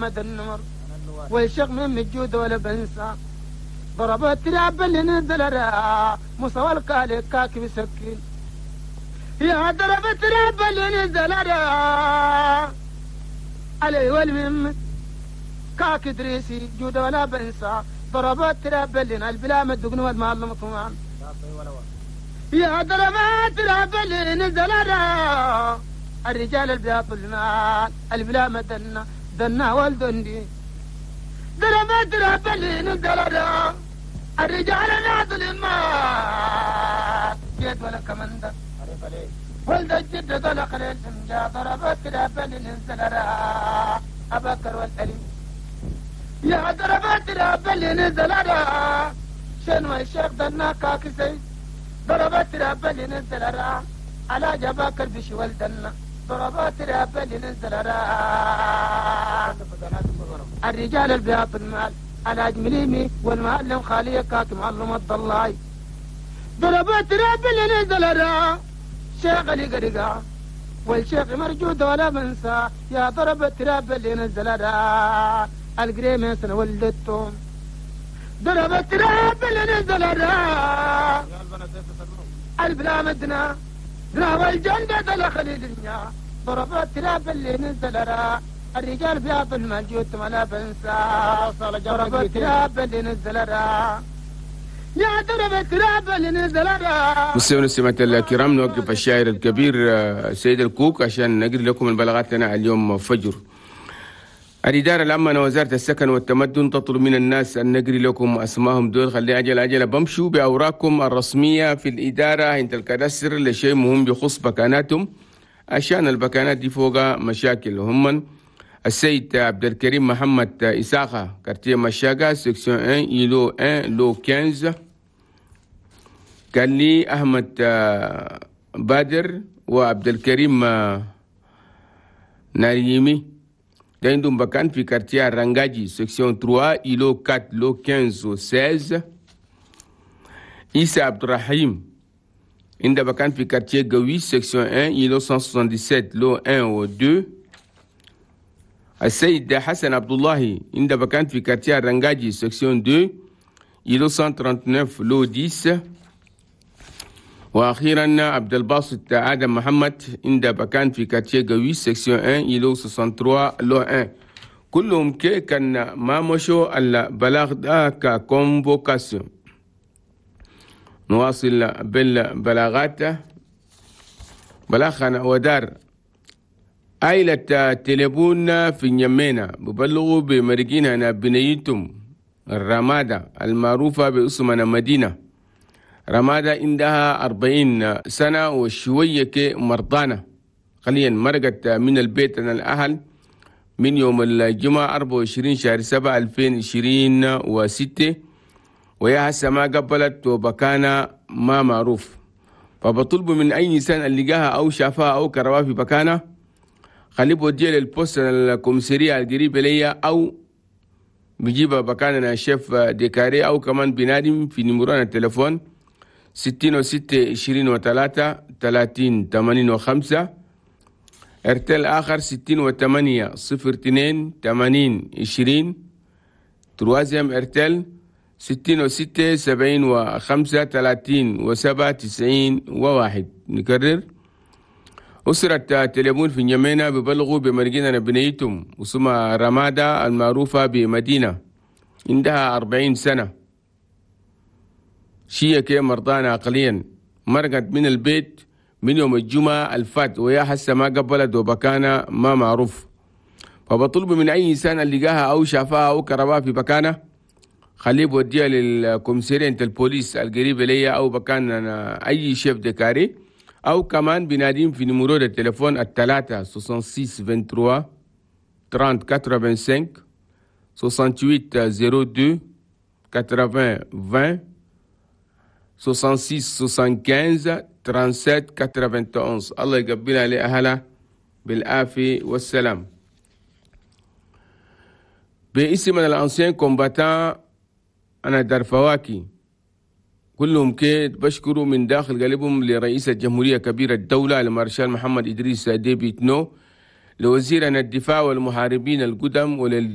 محمد النمر والشيخ من مجود ولا بنسى ضربت تراب اللي نزل مصوى الكالي كاكي بسكين يا ضربت تراب اللي نزل علي والمم كاك دريسي جود ولا بنسى ضربت تراب اللي البلا مدقن والمعلم طمان يا ضربت تراب اللي نزل الرجال البياض المال البلا مدنا دنا والدندي ضربت تراب اللي نزل الرجال البياض المال جيت ولا كمندة ولد الجد طلق للسمجا ضربت تراب اللي نزل أبكر والأليم يا ضربت تراب اللي نزل شنو الشيخ دنا كاكسي ضربت تراب اللي نزل على جباكر بشي ولدنا ضربات تراب اللي نزل الرجال البياض المال على جمليمي والمعلم خالية كاك معلم الضلاي ضربات تراب اللي نزل شيخ اللي قرقا والشيخ مرجود ولا بنسى يا ضرب تراب اللي نزل القريمة سنة ولدتهم ضرب تراب اللي نزل البلا مدنا دنا والجندة دل خليل ضرب تراب اللي نزل الرجال بياض المال ولا بنسى ضرب تراب اللي نزل يا ضرب تراب اللي نزل. مستمعينا والمستمعات الكرام، نوقف الشاعر الكبير سيد الكوك عشان نقري لكم البلاغات لنا اليوم فجر. الإدارة العامة وزارة السكن والتمدن تطلب من الناس أن نقري لكم أسمائهم دول. خلي عجل عجل بمشوا بأوراقكم الرسمية في الإدارة عند الكادستر لشيء مهم يخص بكاناتهم، عشان البكانات دي فوق مشاكل. هم السيد عبد الكريم محمد إساقة، quartier مشاقة، section 1 îlot 1 lot 15. قال لي أحمد بادر وعبد الكريم ناريمي ده عندهم بكان في quartier رنجاجي، section 3 îlot 4 lot 15 و 16. إيسا عبد الرحيم عنده بكان في quartier قوي، section 1 îlot 177 lot 1 و 2. السيد حسن عبد الله عنده بكان في quartier رنجاجي، section 2 îlot 139 lot 10. واخيرا عبد الباسط ادم محمد عنده بكان في quartier قوي، section 1 îlot 63 lot 1. كلهم كي كان ما مشوا البلاغ ده ك convocation. نواصل بالبلاغات. بلاغنا ودار عائلة تليفون في نيمينا ببلغوا بمرقين بنيتهم الرمادة المعروفة باسمنا مدينة رمادة، عندها 40 سنة وشوية مرضانة. قليلا مرقت من البيت أن الأهل من يوم الجمعة 24 شهر 7 2026، ويا هسه ما قبلت وبكانة ما معروف. فبطلب من أي إنسان اللي لقاها أو شافها أو كرواها في بكانة خليه بوديه لل poste ال commissariat القريب ليا، أو بيجيبها بكانة chef de carré، أو كمان بنادم في numéro التليفون 66 23 30 85. ارتل آخر 68 02 80 20. troisième ارتل 66 75 30 و7 91 و1. نكرر أسرة تليفون في نيمينا ببلغوا بمرقنا بنيتهم وسمى رمادة المعروفة بمدينة، عندها 40 سنة، شيء كي مرضانة عقليا، مرقت من البيت من يوم الجمعة الفات ويا هسه ما قبلت وبكانة ما معروف. فبطلب من أي إنسان اللي لقاها أو شافها أو كرباها في بكانة خليه بوديها لل commissariat البوليس القريب ليا أو بكان أي chef de carré، أو كمان بناديم في numéro التليفون الثلاثة 66 23 30 85 68 02 80 20 66 75 37 91. الله يقبلها لأهلها بالعافية والسلام. باسم ال anciens combattants أنا دار فواكي كلهم كيد بشكروا من داخل قلبهم لرئيس الجمهورية كبير الدولة المارشال محمد إدريس ديبي إتنو لوزيرنا الدفاع والمحاربين القدم ولل